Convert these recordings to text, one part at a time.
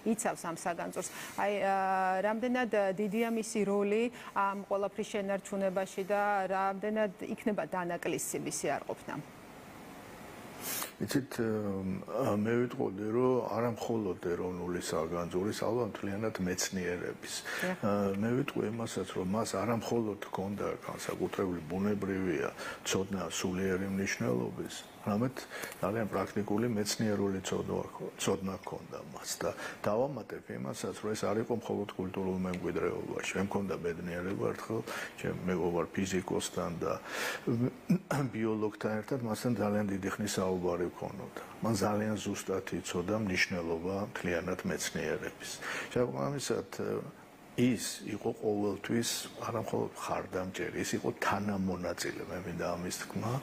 იცავს ამ საგანძურს. აი რამდენად დიდია მისი როლი ამ ყველაფრის შენარჩუნებაში და რამდენად იქნება დანაკლისი მისი არყოფნა. იცით, მე ვიტყოდი, რომ არა მხოლოდ ეროვნული საგანძურის, ალბათ მთლიანად მეცნიერების. მე ვიტყვი იმასაც, რომ მას არა მხოლოდ ჰქონდა განსაკუთრებული ბუნებრივია ცოდნა სულიერი მნიშვნელობის, რამეთ ძალიან პრაქტიკული მეცნიერული ცოდნა ჰქონდა მას და დავამატებ იმასაც, რომ ეს არ იყო მხოლოდ კულტურულ მემკვიდრეობაში. მე მქონდა ბედნიერება ერთხელ მეგობარ ფიზიკოსთან და ბიოლოგთან ერთად მასთან ძალიან დიდი ხნის საუბარი ვქონოდა. მან ძალიან ზუსტად იცოდა მნიშვნელობა მთლიანად მეცნიერების. შესაბამისად ის იყო ყოველთვის არა მხოლოდ ხარდამჭერი, ის იყო თანამონაწილე, მე მინდა ამის თქმა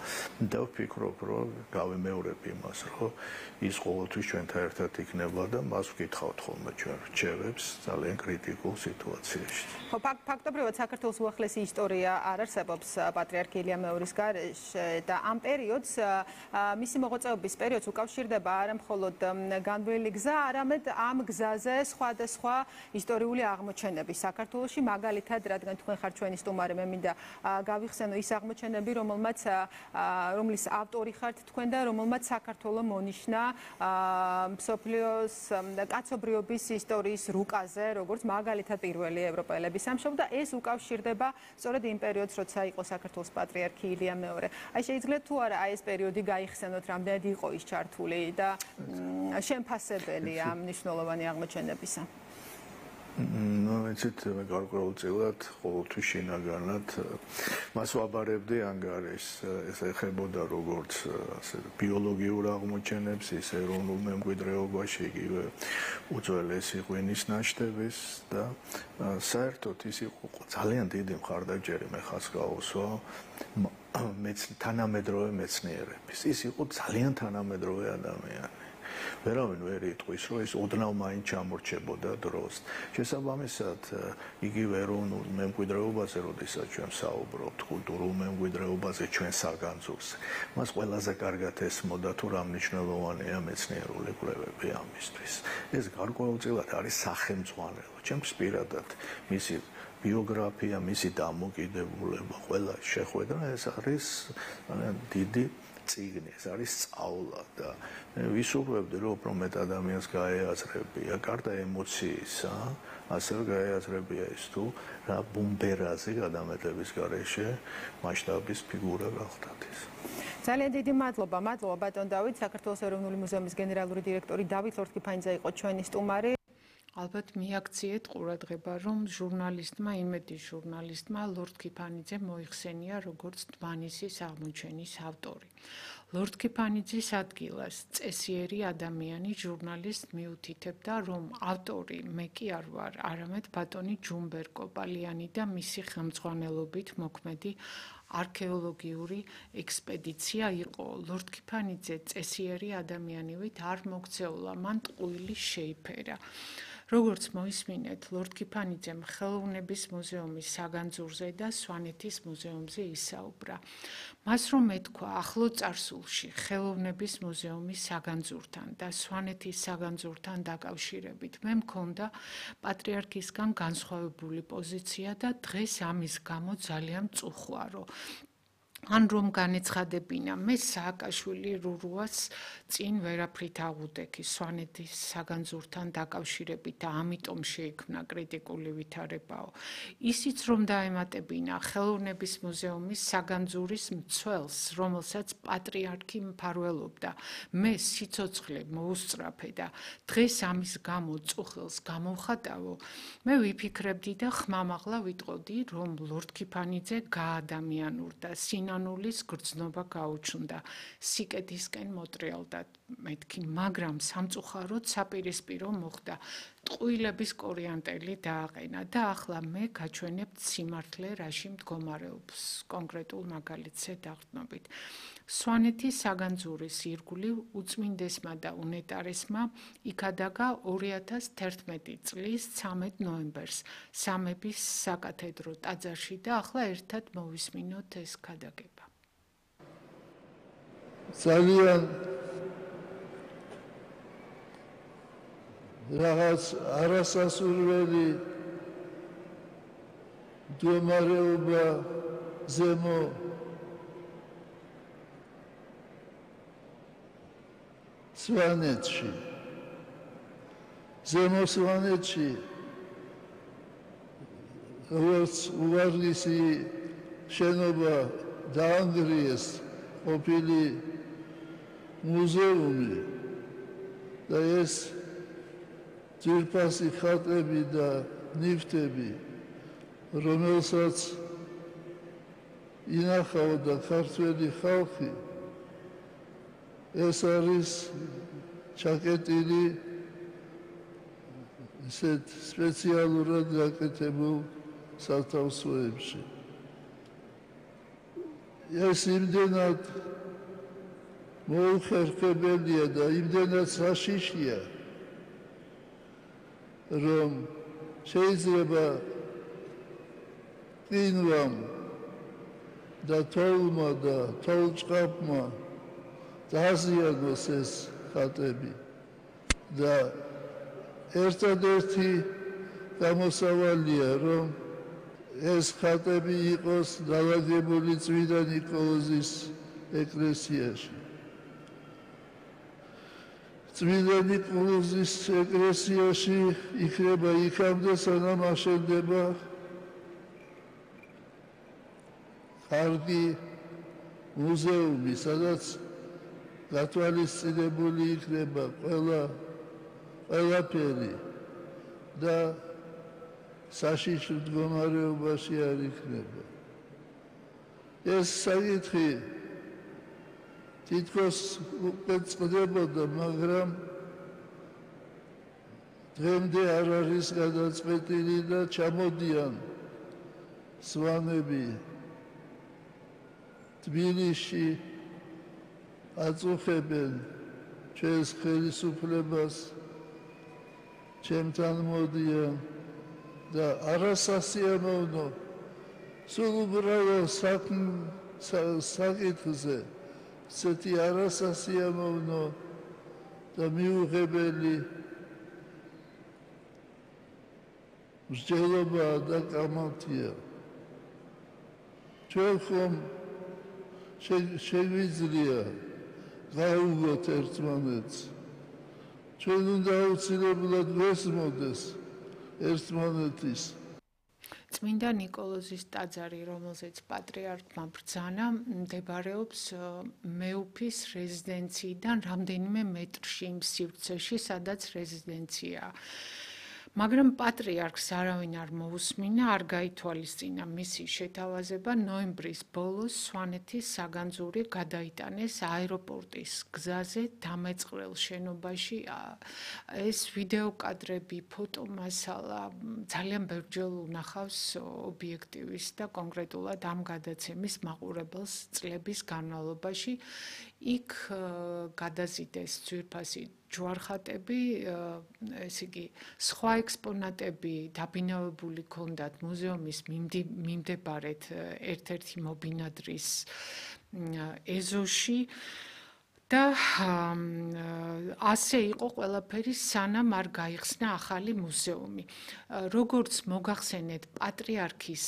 და ვფიქრობ, რომ გავიმეორებ იმას, რომ ის ყოველთვის ჩვენთან ერთად იქნება და მას ვკითხავთ ხოლმე ჩვენ რჩევებს ძალიან კრიტიკულ სიტუაციაში. ხო, ფაქტობრივად საქართველოს უახლესი ისტორია არ არსებობს პატრიარქ ილია მეორის გარეშე და ამ პერიოდს მისი მოღვაწეობის პერიოდს უკავშირდება არა მხოლოდ განვლილი გზა, არამედ ამ გზაზე სხვადასხვა ისტორიული აღმოჩენები საქართველოში, მაგალითად, რადგან თქვენ ხართ ჩვენი სტუმარი, მე მინდა გავიხსენო ის აღმოჩენები, რომლის ავტორი ხართ თქვენ და რომელმაც საქართველო მონიშნა მსოფლიოს კაცობრიობის ისტორიის რუკაზე, როგორც მაგალითად პირველი ევროპელების სამშობლო და ეს უკავშირდება სწორედ იმ პერიოდს, როცა იყო საქართველოს პატრიარქი ილია მეორე. აი შეიძლება თუ არა ეს პერიოდი გაიხსენოთ, რამდენად იყო ის ჩართული და შემფასებელი ამ მნიშვნელოვანი აღმოჩენებისა. იცით, მე გარკვეულწილად ყოველთვის შინაგანად მას ვაბარებდი ანგარიშს, ეს ეხებოდა როგორც ბიოლოგიურ აღმოჩენებს, ის ეროვნულ მემკვიდრეობაში, იგივე უძველესი ღვინის ნაშთების და საერთოდ ის იყო ძალიან დიდი მხარდაჭერი მე ხას გავუსვა თანამედროვე მეცნიერების. ის იყო ძალიან თანამედროვე ადამიანი. ვერავინ ვერ იტყვის, რომ ეს ოდნავ მაინც ჩამორჩებოდა დროს. შესაბამისად, იგივე ეროვნულ მემკვიდრეობაზე, როდესაც ჩვენ ვსაუბრობთ, კულტურულ მემკვიდრეობაზე, ჩვენ საგანძურზე, მას ყველაზე კარგად ესმოდა თუ რა მნიშვნელოვანია მეცნიერული კვლევები ამისთვის. ეს გარკვეულწილად არის სახელმძღვანელო. ჩემს პირადად მისი ბიოგრაფია, მისი დამოკიდებულება, ყველა შეხვედრა ეს არის დიდი წიგნი, ეს არის სწავლა და მე ვისურვებდი, რომ უფრო მეტ ადამიანს გაეაზრებია გარდა ემოციისა, ასევე გაეაზრებია ის თუ რა ბუმბერაზე გადამეტების გარეშე მასშტაბის ფიგურა გახდათ ის. ძალიან დიდი მადლობა ბატონ დავით, საქართველოს ეროვნული მუზეუმის გენერალური დირექტორი დავით ლორთქიფანიძე იყო ჩვენი სტუმარი. ალბათ მიაქციეთ ყურადღება, რომ ჟურნალისტმა, იმედის ჟურნალისტმა ლორთქიფანიძე მოიხსენია როგორც დმანისის აღმოჩენის ავტორი. ლორთქიფანიძის ადგილას წესიერი ადამიანი ჟურნალისტ მიუთითებდა, რომ ავტორი მე კი არ ვარ, არამედ ბატონი ჯუმბერ კოპალიანი და მისი ხელმძღვანელობით მოქმედი არქეოლოგიური ექსპედიცია იყო. ლორთქიფანიძე წესიერი ადამიანივით არ მოქცეულა, მან ტყუილი შეიფერა. როგორც მოისმინეთ, ლორთქიფანიძემ ხელოვნების მუზეუმის საგანძურზე და სვანეთის მუზეუმზე ისაუბრა. მას რომ ეთქვა ახლო წარსულში ხელოვნების მუზეუმის საგანძურთან და სვანეთის საგანძურთან დაკავშირებით, მე მქონდა პატრიარქისგან განსხვავებული პოზიცია და დღეს ამის გამო ძალიან მწუხვარო. ან რომ განეცხადებინა, მე სააკაშვილი რურუას წინ ვერაფრით აღუდექი სვანეთის საგანძურთან დაკავშირებით და ამიტომ შეიქმნა კრიტიკული ვითარებაო. ისიც რომ დაემატებინა ხელოვნების მუზეუმის საგანძურის მცველს, რომელსაც პატრიარქი მფარველობდა, მე სიცოცხლე მოუსწრაფე და დღეს ამის გამო წუხილს გამოვხატავო, მე ვიფიქრებდი და ხმამაღლა ვიტყოდი, რომ ლორთქიფანიძე გაადამიანურდა, სინანულის გრძნობა გაუჩნდა, სიკეთისკენ მოტრიალდა მეთქი, მაგრამ სამწუხაროდ საპირისპირო მოხდა, ტყუილების კორიანტელი დააყენა და ახლა მე გაჩვენებთ სიმართლე რაში მდგომარეობს, კონკრეტულ მაგალითზე დაყრდნობით. სვანეთის საგანძურის ირგვლივ უწმინდესმა და უნეტარესმა იქადაგა 2011 წლის 13 ნოემბერს სამების საკათედრო ტაძარში და ახლა ერთად მოვისმინოთ ეს ქადაგება. ძალიან რაღაც არასასურველი მდგომარეობა ზემო სვანეთში ზემო სვანეთში როგორც უვარგისი შენობა დაანგრიეს ყოფილი მუზეუმი და ეს ძვირფასი ხატები და ნივთები რომელსაც ინახავდა ქართველი ხალხი ეს არის ჩაკეტილი ისეთ სპეციალურად გაკეთებულ სათავსოებში ეს იმდენად მოუხერხებელია და იმდენად საშიშია რომ შეიძლება ყინვამ და თოვლმა და თოვლჭყაფმა დააზიანოს ეს ხატები და ერთადერთი გამოსავალია რომ ეს ხატები იყოს დალაგებული წმინდა ნიკოლოზის ეკლესიაში წმინდა ნიკოლოზის ეკლესიაში იქნება იქამდე სანამ აშენდება კარგი მუზეუმი სადაც გათვალისწინებული იქნება ყველაფერი და საშიშ მდგომარეობაში არ იქნება ეს საკითხი თითქოს უკვე წყდებოდა მაგრამ დღემდე არ არის გადაწყვეტილი და ჩამოდიან სვანები თბილისში აწუხებენ ჩვენს ხელისუფლებას ჩემთან მოდიან და არასასიამოვნო სულ უბრალოდ საკითხზე ისეთი არასასიამოვნო და მიუღებელი მსჯელობა და კამათია ჩვენ ხომ შეგვიძლია გავუგოთ ერთმანეთს ჩვენ უნდა აუცილებლად ვესმოდეს ერთმანეთის წმინდა ნიკოლოზის ტაძარი, რომელზეც პატრიარქმა ბრძანა, მდებარეობს მეუფის რეზიდენციიდან რამდენიმე მეტრში იმ სივრცეში, სადაც რეზიდენციაა. მაგრამ პატრიარქს არავინ არ მოусმინა, არ გაითვალისწინა მისი შეთავაზება ნოემბრის ბოლოს სვანეთის საგანძური გადაიტანეს აეროპორტის გზაზე დამეწყრელ შენობაში. ეს ვიდეო კადრები, ფოტომასალა ძალიან ბევრჯერ უნახავს ობიექტივის და კონკრეტულად ამ გადაცემის მაყურებელს წლების განმავლობაში. იქ გადაზიდეს ძვირფასი ჯვარხატები, ესე იგი, სხვა ექსპონატები დაბინავებული ჰქონდათ მუზეუმის მიმდებარედ ერთ-ერთი მობინადრის ეზოში და ასე იყო ყველაფერი სანამ არ გაიხსნა ახალი მუზეუმი. როგორც მოგახსენეთ, პატრიარქის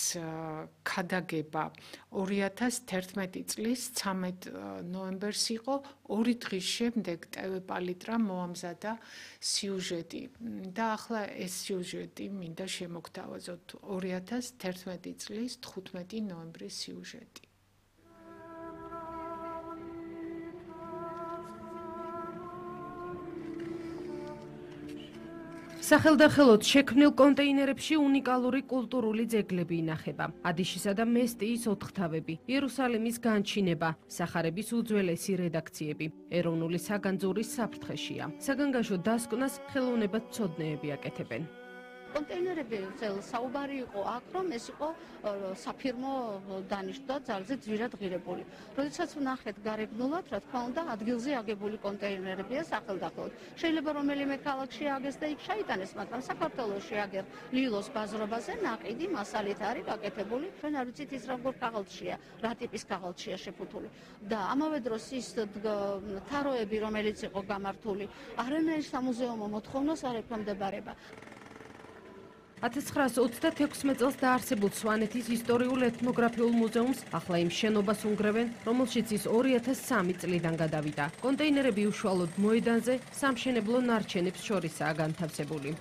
ქადაგება 2011 წლის 13 ნოემბერს იყო, 2 დღის შემდეგ TV პალიტრამ მოამზადა სიუჟეტი და ახლა ეს სიუჟეტი მინდა შემოგთავაზოთ 2011 წლის 15 ნოემბრის სიუჟეტი. სახელდახელოდ შექმნილ კონტეინერებში უნიკალური კულტურული ძეგლები ინახება. ადიშისა და მესტიის ოთხთავები, იერუსალიმის განჩინება, სახარების უძველესი რედაქციები, ეროვნული საგანძურის საფრთხეშია. საგანგაშო დასკვნას ხელოვნებად მცოდნეები აკეთებენ. კონტეინერები საუბარი იყო აქ, რომ ეს იყო საფირმო დანიშნვა ძალზე ძვირად ღირებული. როდესაც ვნახეთ გარეგნულად, რა თქმა უნდა, ადგილზე აგებული კონტეინერებია სახელდახელოდ. შეიძლება რომელიმე ქალაქში აგეს და იქ შეიტანეს, მაგრამ საქართველოში აგერ ლილოს ბაზრობაზე ნაყიდი მასალით არის გაკეთებული. ჩვენ არ ვიცით ის როგორ ქაღალდშია, რა ტიპის ქაღალდშია შეფუთული. და ამავე დროს ის თაროები, რომელიც იყო გამართული, არანაირ სამუზეუმო მოთხოვნას არ ექვემდებარება. 1936 წელს დაარსებულ სვანეთის ისტორიულ-ეთნოგრაფიულ მუზეუმს ახლა იმ შენობას უნგრევენ, რომელშიც ის 2003 წლიდან გადავიდა. კონტეინერები უშუალოდ მოედანზე სამშენებლო ნარჩენებს შორისაა განთავსებული.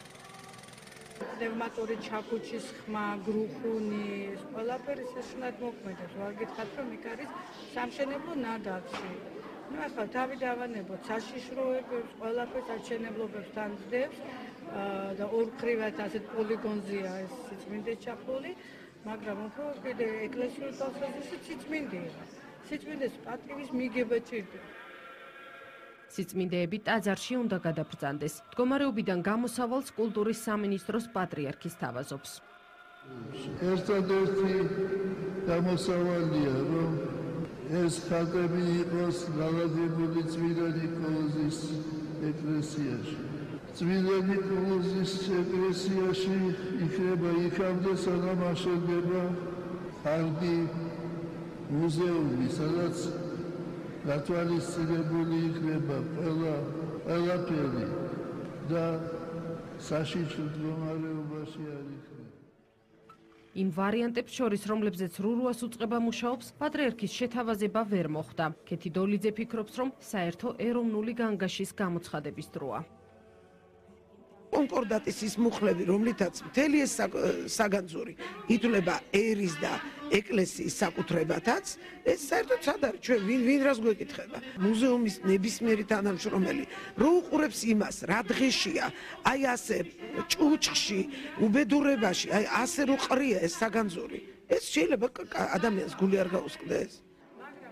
პნევმატური ჩაქუჩის ხმა, გრუხუნი, ყველაფერი შეშნად მოქმედებს. ვარ გითხათ, რომ იქ არის სამშენებლო ნადავლი. ახლა თავი დავანებოთ საშიშროებებს, ყველაფერს აჩენებლობებს თანძდებს და ორქრივად ასეთ პოლიგონზეა ეს სიწმინდე ჩაფლული, მაგრამ უფრო კიდე ეკლესიურ თვალსაზრისით სიწმინდეა. სიწმინდეს პატივის მიგება ჭირდება. სიწმინდეები ტაძარში უნდა გადაბრძანდეს. მდგომარეობიდან გამოსავალს კულტურის სამინისტროს პატრიარქი სთავაზობს. ერთადერთი გამოსავალია, რომ ეს ხატები იყოს განლაგებული წმინდა ნიკოლოზის ეკლესიაში. წმინდა ნიკოლოზის ეკლესიაში იქნება იქამდე, სანამ აშენდება ხალხი მუზეუმი, სადაც გათვალისწინებული იქნება ყველაფერი და საშიში მდგომარეობაში არ იქნება. იმ ვარიანტებს შორის, რომლებზეც რურუას უწყება მუშაობს, პატრიარქის შეთავაზება ვერ მოხდა. ქეთი დოლიძე ფიქრობს, რომ საერთო ეროვნული განგაშის გამოცხადების დროა. კონკორდატის ის მუხლები, რომლითაც მთელი ეს საგანძური ითვლება ერის და ეკლესიის საკუთრებათაც, ეს საერთოდ სად არის? ჩვენ ვინ რას გვეკითხება? მუზეუმის ნებისმიერი თანამშრომელი რო უყურებს იმას, რა დღეშია, აი ასე ჭუჭხში, უბედურებაში, აი ასე რო ყრია ეს საგანძური, ეს შეიძლება ადამიანს გული არ გაუსკდეს.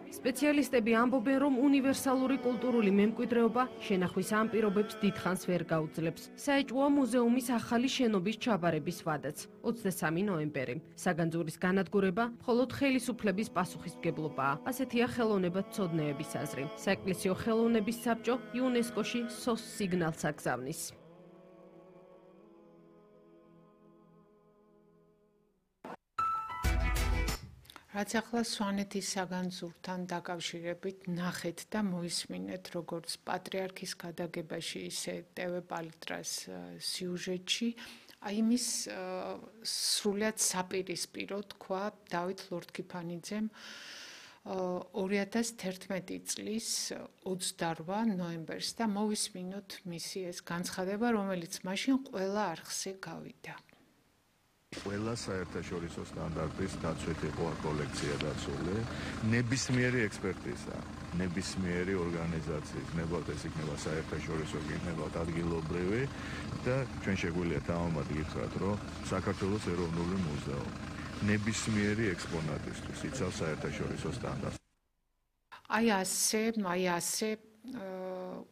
სპეციალისტები ამბობენ, რომ უნივერსალური კულტურული მემკვიდრეობა შენახვის ამ პირობებს დიდხანს ვერ გაუძლებს. საეჭვოა მუზეუმის ახალი შენობის ჩაბარების ვადაც. 23 ნოემბერი. საგანძურის განადგურება მხოლოდ ხელისუფლების პასუხისმგებლობაა. ასეთია ხელოვნებათმცოდნეების აზრი. საეკლესიო ხელოვნების საბჭო იუნესკოში სოს სიგნალს აგზავნის. რაც ახლა სვანეთის საგანძურთან დაკავშირებით ნახეთ და მოისმინეთ, როგორც პატრიარქის გადაგებაში, ისე ტევ პალიტრას სიუჟეტში, აი მის სრულად საპირისპირო თქვა დავით ლორთქიფანიძემ 2011 წლის 28 ნოემბერს და მოვისმინოთ მისი ეს განცხადება, რომელიც მაშინ ყველა არხზე გავიდა. ყველა საერთაშორისო სტანდარტის დაცვით იყო კოლექცია დაცული, ნებისმიერი ექსპერტიზა, ნებისმიერი ორგანიზაციის, ნებავთ ეს იქნება საერთაშორისო, იქნება ადგილობრივი და ჩვენ შეგვიძლია თავამად გითხრათ, რომ საქართველოს ეროვნული მუზეუმი ნებისმიერი ექსპონატისთვის იცავს საერთაშორისო სტანდარტს. აი ასე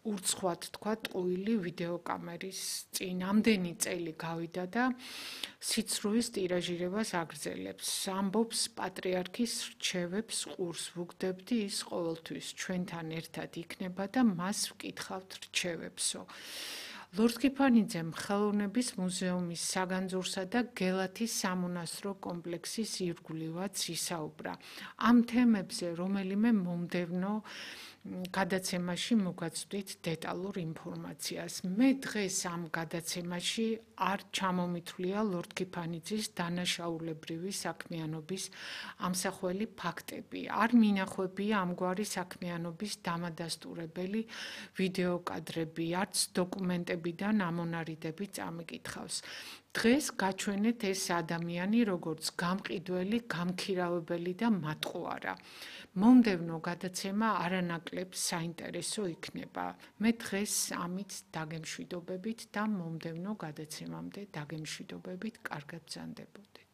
ურცხვად თქვა ტყუილი ვიდეოკამერის წინ ამდენი წელი გავიდა და სიცრუის ტირაჟირებას აგრძელებს. ამბობს პატრიარქის რჩევებს ყურს ვუგდებდი, ის ყოველთვის ჩვენთან ერთად იქნება და მას ვკითხავთ რჩევებსო. ლორთქიფანიძემ ხელოვნების მუზეუმის საგანძურსა და გელათის სამონასტრო კომპლექსის ირგვლივაც ისაუბრა. ამ თემებზე რომელიმე მომდევნო გადაცემაში მოგაცვდით დეტალურ ინფორმაციას. მე დღეს ამ გადაცემაში არ ჩამომითვლია ლორთქიფანიძის დანაშაულებრივი საქმიანობის ამსახველი ფაქტები. არ მინახვებია ამგვარი საქმიანობის დამადასტურებელი ვიდეოკადრები, არც დოკუმენტებიდან ამონარიდები წამიკითხავს. დღეს გაჩვენეთ ეს ადამიანი როგორც გამყიდველი, გამქირავებელი და მატყუარა. მომდევნო გადაცემა არანაკლებ საინტერესო იქნება. მე დღეს ამით დაგემშვიდობებით და მომდევნო გადაცემამდე დაგემშვიდობებით, კარგად ბრძანდებოდეთ.